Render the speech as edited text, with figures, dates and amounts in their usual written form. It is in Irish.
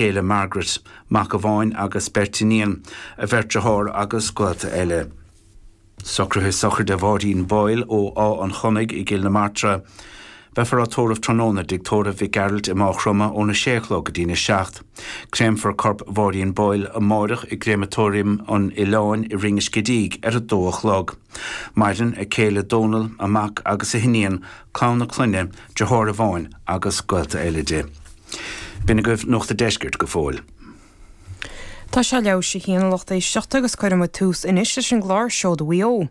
Céile Margaret, mac amháin agus beirt iníon, a bheirt dearthár agus gaolta eile. Socruithe sochraide Mháirín Boyle ó Áth an Chonnaigh i gCill na Martra. Beifear á tórramh tráthnóna i dTigh Tórraimh Mhic Gearailt i Máigh Chromtha óna sé a chlog go dtína seacht. Créamfar corp Mháirín Boyle amáireach i gCréamatóiriam an Oileáin i Rinn an Scidígh ar a dó a chlog. Maireann a céile Dónal, a mac agus a hiníon, clann a clainne, deartháir amháin agus gaolta eile di. B'in agaibh Nuacht a' Deiscirt go fóill. Tá sé leathuair théis a haon a lucht éisteachta agus cuirfidh muid tús anois leis an gclár Seoda Mhaigh Eo.